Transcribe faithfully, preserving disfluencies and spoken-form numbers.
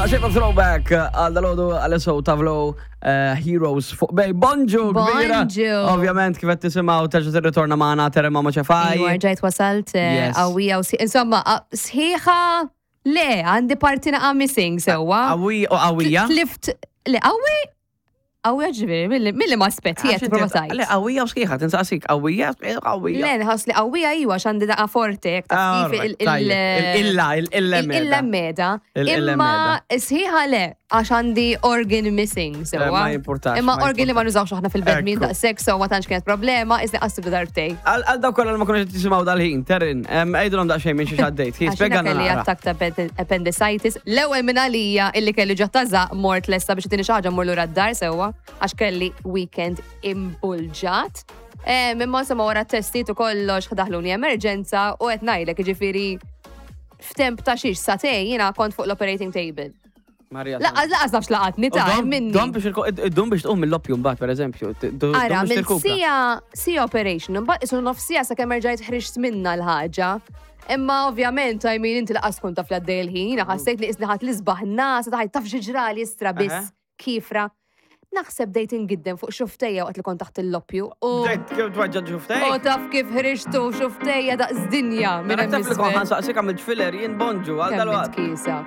Daqsxejn ta' throwback għal dalgħodu, Alesso Tavlo, eh, Heroes fuq Bay. Bonġu, kbira. Bonġu. Ovvjament, kif qed tisimgħu, terġa' tirritorna magħna Terema Moċefaj. Iwa, ġajt wasalt, eh, Yes. qawwija u sħiħa. Insomma, a- sħiħa, le, għandi parti naqa missing sewwa. Qawwi u qawwija. Tlift, le, qawwi, qawwija ġifieri, milli milli ma spett, jiet prova tajt. Le, qawwija u sħiħa, tinsaqsik, qawwija, qawwija. Le, nħoss li qawwija iwa x'għandi daqa forte, jek taf kif il- il- Il-illa, il-illa Il-illa meda. Il-illa Imma meda. sħiħa le, għax għandi organ missing, sewwa. Eh, ma jimpurtax, Imma ma organ li ma nużawx aħna fil-bedmin Ekku. da' sex, so ma tantx kienet problema, iżda qasib darbtej. Għal dawk kollha li ma konniex tisimgħu dal-ħin, Terin, em, għidulhom daqsxejn minn xi għaddejt. Għax jiena Spjegana kelli naqra. attak ta' appendicitis. L-ewwel minn għalija illi kelli ġotta żaq mort lesta biex tini xi ħaġa mmur lura d-dar sewwa, għax kelli weekend imbulġat. Eh, Imma insomma wara testijiet u kollox daħluni emerġenza u qed ngħidlek, jiġifieri, f'temp ta' xiex sagħtejn jiena kont fuq l-operating table. Marija. Laqas laqas nafx laqatni ta' Dom minni. Dom biex il- dom biex tqum mill-loppju mbagħad, pereżempju. Dom Ara, biex mill tirkupra. sija sija operation, mbagħad isu nofsija sa kemm erġajt ħriġt minna l-ħaġa. Imma ovvjament, I mean, inti laqas kont taf li għaddej il-ħin, jiena ħassejt li isni ħadd l-isbaħ nasa, taħt taf xi ġrali istra Aha. biss kifra. Naħseb bdejt ingiddem fuq xuftejja waqt li kont taħt il-loppju. U Bdejt kif tweġġa' u xuftejk. taf kif ħriġtu xuftejja daqs dinja minn Minn hemm taf li kont isfel. ħa nsaqsik għamilt filler jien, bonġu għal Kemm dal-waqt. kisa.